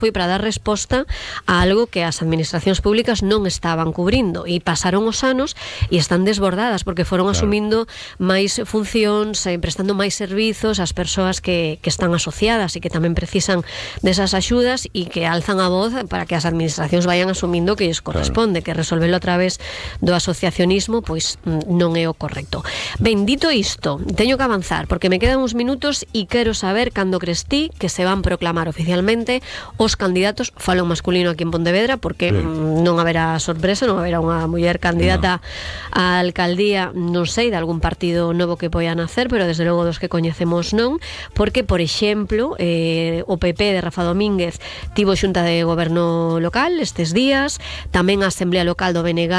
foi para dar resposta a algo que as administracións públicas non estaban cubrindo, e pasaron os anos e están desbordadas porque foron asumindo máis funcións, prestando máis servizos ás persoas que están asociadas e que tamén precisan desas axudas, e que alzan a voz para que as administracións vayan asumindo que lles corresponde, que resolvelo a través do asociacionismo pois non é o correcto. Ben, dito isto, teño que avanzar porque me quedan uns minutos e quero saber cando crees ti que se van proclamar oficialmente os candidatos, falo en masculino aquí en Pontevedra porque non haberá sorpresa, non haberá unha muller candidata á alcaldía, non sei, de algún partido novo que poidan hacer, pero desde logo dos que coñecemos non, porque, por exemplo, o PP de Rafa Domínguez tivo xunta de goberno local estes días, tamén a Asamblea Local do BNG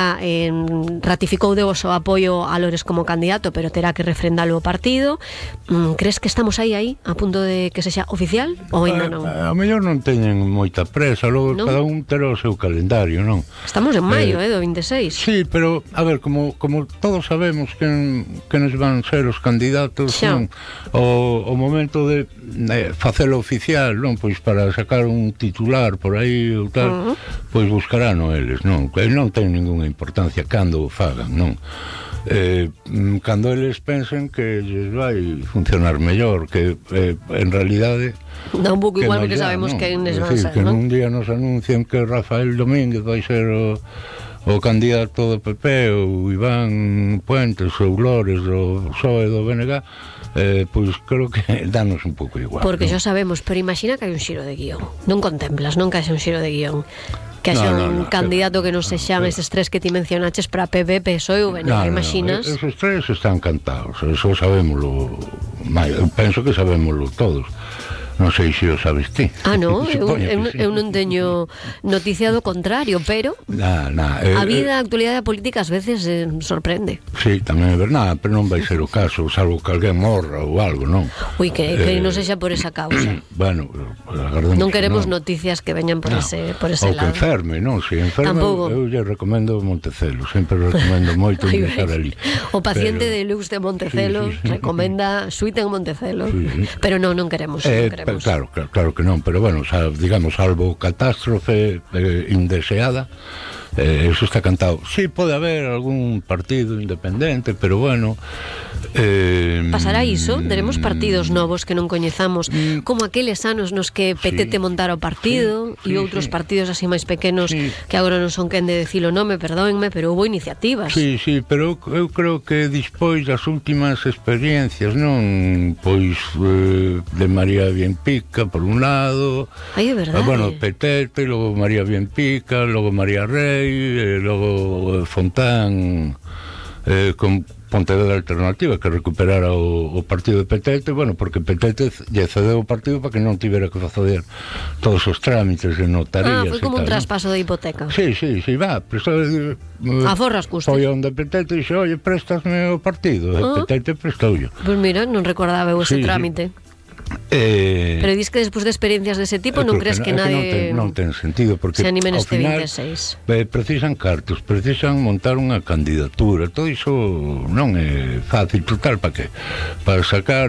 ratificou de o seu apoio a Lores como candidato, pero terá que refrendalo o partido. Crees que estamos aí a punto de que sexa oficial ou ainda non? A mellor non teñen moita presa, logo cada un terá o seu calendario, non? Estamos en maio, do 26. Sí, pero, a ver, como todos sabemos quenes van ser os candidatos, non? O momento de facelo oficial, non? Pois para sacar un titular por aí ou tal, pois buscarán eles, non? Non ten ninguna importancia cando o fagan, non? Cando eles pensen que lles vai funcionar mellor, que en realidade dá un pouco igual porque sabemos que eles van a ser, que non? un día nos anuncian que Rafael Domínguez vai ser o candidato do PP, ou Iván Puentes, ou Lores, o PSOE do BNG, pois creo que danos un pouco igual, porque non? xa sabemos, pero imagina que hai un xiro de guión, non contemplas, non que haxe un xiro de guión, que haxa un candidato que non sexan eses tres que ti mencionaches para PP, PSOE ou BNG, imaginas? Esos tres están cantados, eso sabémoslo, eu penso que sabémoslo todos. Non sei se o sabes ti. Non, eu non teño noticia do contrario, pero a vida, a actualidade política ás veces sorprende. Sí, tamén é verdade, pero non vai ser o caso, salvo que alguén morra ou algo, non? Ui, que non sexa por esa causa. Bueno, non queremos noticias que veñan por ese lado. Ou que enferme, non? Se enferme, eu lle recomendo Montecelo, sempre recomendo moito ingresar ali. O paciente de Lux de Montecelo recomenda suite en Montecelo, pero non queremos. Claro que non, pero bueno, digamos, salvo catástrofe indeseada, eso está cantado. Sí, pode haber algún partido independente, pero bueno, pasará iso, teremos partidos novos que non coñezamos, como aqueles anos nos que Petete montara o partido e outros partidos así máis pequenos que agora non son quen de decir o nome, perdóenme, pero houve iniciativas. Sí, pero eu creo que despois das últimas experiencias, non? Pois de María Bienpica por un lado, é verdade. Bueno, Petete, logo María Bienpica, logo María Rey, logo Fontán con Pontevedra Alternativa, que recuperara o partido de Petete, bueno, porque Petete lle cedeu o partido para que non tivera que facer todos os trámites de notarías. Foi como un traspaso de hipoteca. Sí, va, a forras custas. Foi onde Petete dixe, oye, préstasme o partido, e Petete prestaullo. Pois mira, non recordaba eu ese trámite. Pero dis que despois de experiencias dese tipo non crees que nadie non ten sentido, porque se anime neste ao final 26 precisan cartos, precisan montar unha candidatura, todo iso non é fácil, total, para que? Para sacar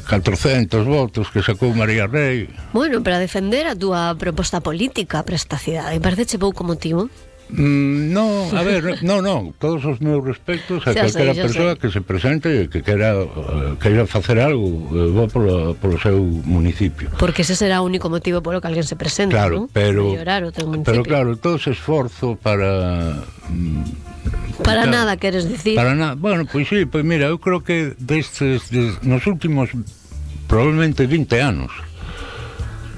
400 votos que sacou María Rey. Bueno, para defender a túa proposta política para esta cidade, parece pouco motivo? Non, a ver, non, todos os meus respectos a calquera persoa que se presente e que queira facer algo bo polo seu municipio. Porque ese será o único motivo polo que alguén se presente, claro, ¿no? Pero claro, todo ese esforzo para nada, queres dicir? Para nada, bueno, pois sí, pois mira, eu creo que nos últimos probablemente 20 anos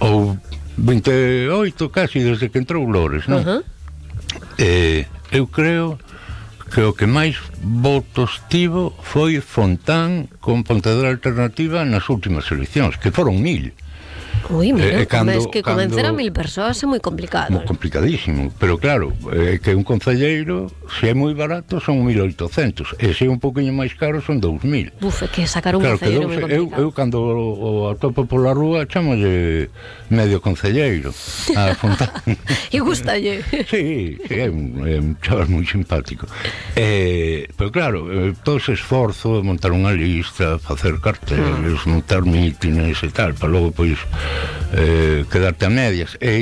ou 28 casi desde que entrou Lores, non? Eu creo que o que máis votos tivo foi Fontán con Pontevedra Alternativa nas últimas eleccións, que foron 1000. Ui, mira, es que convencer a 1000 persoas é moi complicado. Moi complicadísimo, pero claro, que un concelleiro, se é moi barato, son 1800, e se é un poquinho máis caro, son 2000. Buf, é que sacar un concelleiro moi complicado. Eu cando o atopo pola rúa, chamolle medio concelleiro a Fontán. E gustalle. Sí, é un chaval moi simpático. Pero claro, todo ese esforzo de montar unha lista, facer carteles, montar mítines e tal, para logo, pois, quedarte a medias. E